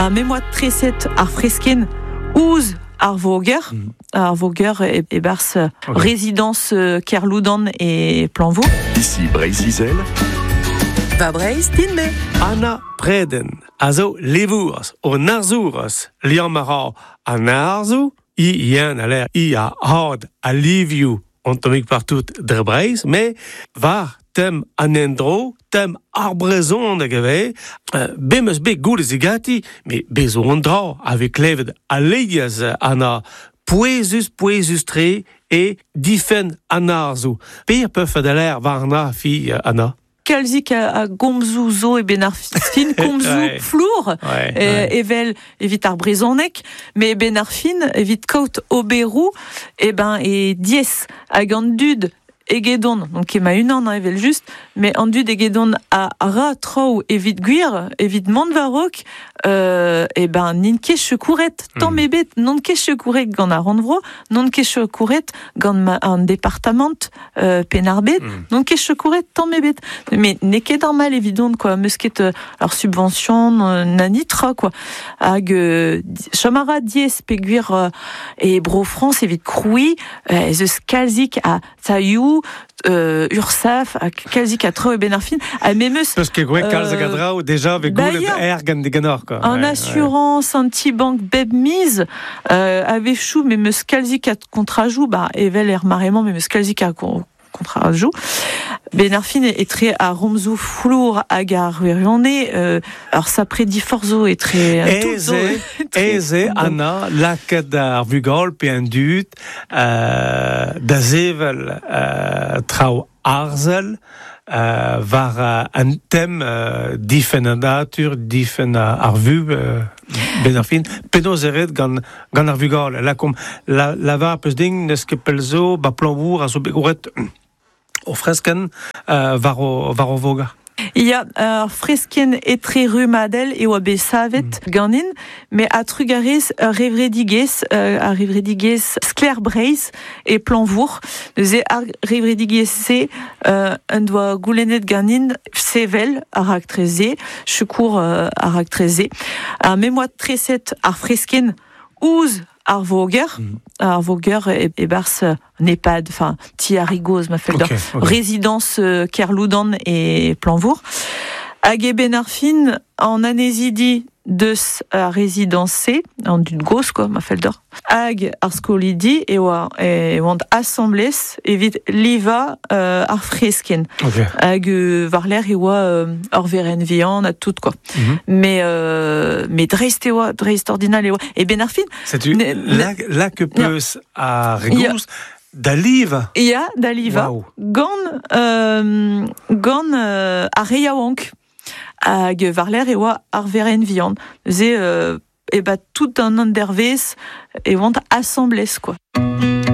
Ha me 'moa treset ar freskenn ouzh ar voger, ar voger e, e-barzh Ok. résidence Kerloudan e Planvo. Ici Breizh-Izel, Va Breizh din-me. Anna Preden a zo levourez, o arzourez, liamm a ra an arzoù, i yen a l'air i a had a livioù an tammig partout dre Breizh, me war tem an endro, tem ar brezhoneg e vez, bet 'm eus bet goulet zigati, me bez zo an dra a vez klevet alies Anna pouezus, pouezus-tre e difenn an arzoù. Per peufet a l'air warna fi Anna? Kalzik a gomzoù zo e ben ar fin komzoù flour evel evit ar brezhoneg, met ben ar fin evit kaout oberoù e ben e diaes hag an dud egedon, donc ket ma-unan hein, evel just, met an dud egedon a ra traoù evit gwir, evit mont war-raok, e ben n'int ket sekouret, tamm ebet, n'on ket sekouret gant ar rannvro, n'on ket sekouret gant ma, an departamant Penn-ar-Bed, n'on ket sekouret tamm ebet. Mais n'eo ket normal evidon, quoi, 'meus ket ur subvention na nitra, quoi. Hag chom a ra diaes peogwir e Bro-Frañs evit krouiñ ez eus kalzik a tailhoù, Ursaf, ha kalzik a traoù e-benn ar fin, ha memes Peus ket gwraet kalz a draoù déjà vez bah goulet ya. err gant diganeoc'h, quoi. An assurance, an ti-bank bep miz, a-wechoù me 'meus kalzik a kontrajoù, bah evel er mare-mañ me 'meus kalzik a kontrajoù. Ben ar fin etre ar romzoù flour hag ar wirionez, ur sapre diforc'h zo etre tout Aes zo eo, aes eo, Anna, lakaat ar vugale pe an dud da sevel traoù arzel war an tem difenn an natur, difenn ar vuhez, benn ar fin. Penaos eo ret gant, gant ar vugale? Lakaomp, la, lavar peus din n'eus ket pell zo, ba Plañvour a zo bet gwraet o freskenn war o, war o voger. Ya, ur freskenn etre-rummadel e oa bet savet ganin, met a-trugarez ur revredigezh, ar revredigezh Sklaer Breizh e Plañvour. Neuze ar revredigezh-se en doa goulennet ganin sevel ar raktres-se, sekour ar raktres-se. Ha me 'moa treset ar freskenn ouzh ar voger, ar voger e-barzh an EHPAD, enfin ti ar Rigoz ma fell deoc'h, résidence Kerloudan e Plañvour. Hag e-benn ar fin, an annezidi deus ar rezidañs-se, an dud gozh quoi, ma fell deoc'h, hag ar skolidi e oa e oant asambles evit livañ ar freskenn. Hag war-lerc'h e oa ur verenn vihan ha tout quoi. Mais mais dreist e oa, dreist-ordinal e oa. E benn ar fin, Setu lak peus ar re gozh da livañ. Ya, da livañ. Wow. Gant gant ar re yaouank. Hag war-lerc'h e oa ar verenn vihan. Neuze e ba tout an endervezh e oant asambles quoi.